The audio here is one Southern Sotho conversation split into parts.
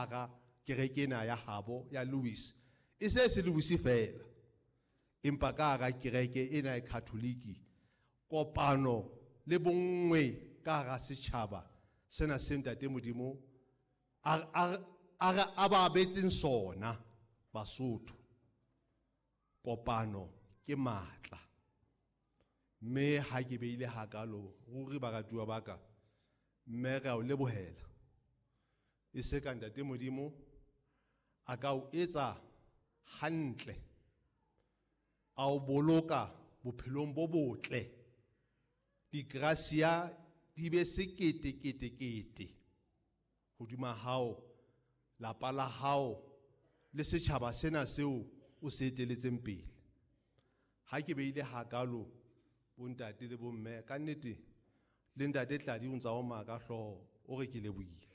hara kereke ena ya habo ya Louis e se se Louis fela empa ka hara kereke ena ya Catholic kopano le bonngwe ka hara setjhaba sena se Ntate Modimo a ba abetseng sona Basotho. Kopano ke matla mme ha ke beile hakalo ruri baratuwa ba ka mme re a o lebohela e se ka Ntate Modimo a ka o etsa hantle a o boloka bophelong bo botle digracia di be sekete kete kete hodima hao lapa la hao le setjhaba sena seo o se eteletseng pele. Ha ke beile hakalo bontate le bomme ka nnete le Ntate Tladi o ntsa o maka hlooho o re ke lebohile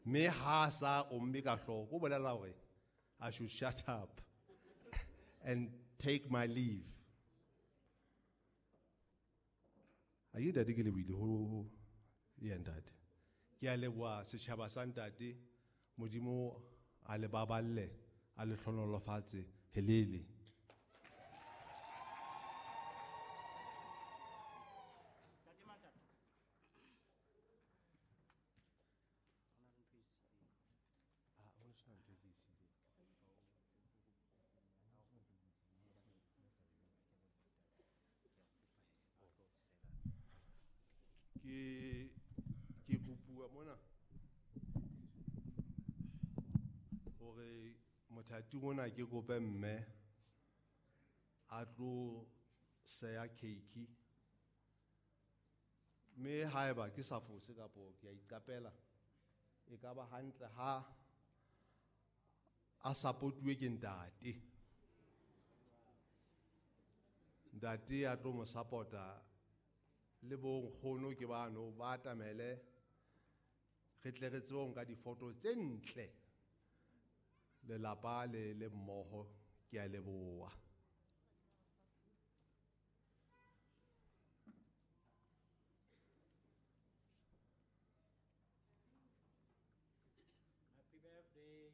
mme ha sa omme ka hlooho ko bolela hore I should shut up and take my leave. A ke ntate ke lebohile ho ya ntate. Ke a leboha setjhaba sa ntate Modimo a le baballe a le hlonolofatse helele. Ke kopuwa mona hore mothating ona ke kope mme a tlo seya cake mme haeba ke sa fose kapo ke a iqapela e ka ba hantle ha a supportuwe ke ntate. Ntate a tlo mo support-a le bo nkgono ke bano ba atamele re tle re tsebe ho nka difoto tse ntle lelapa le le mmoho. Ke a leboha.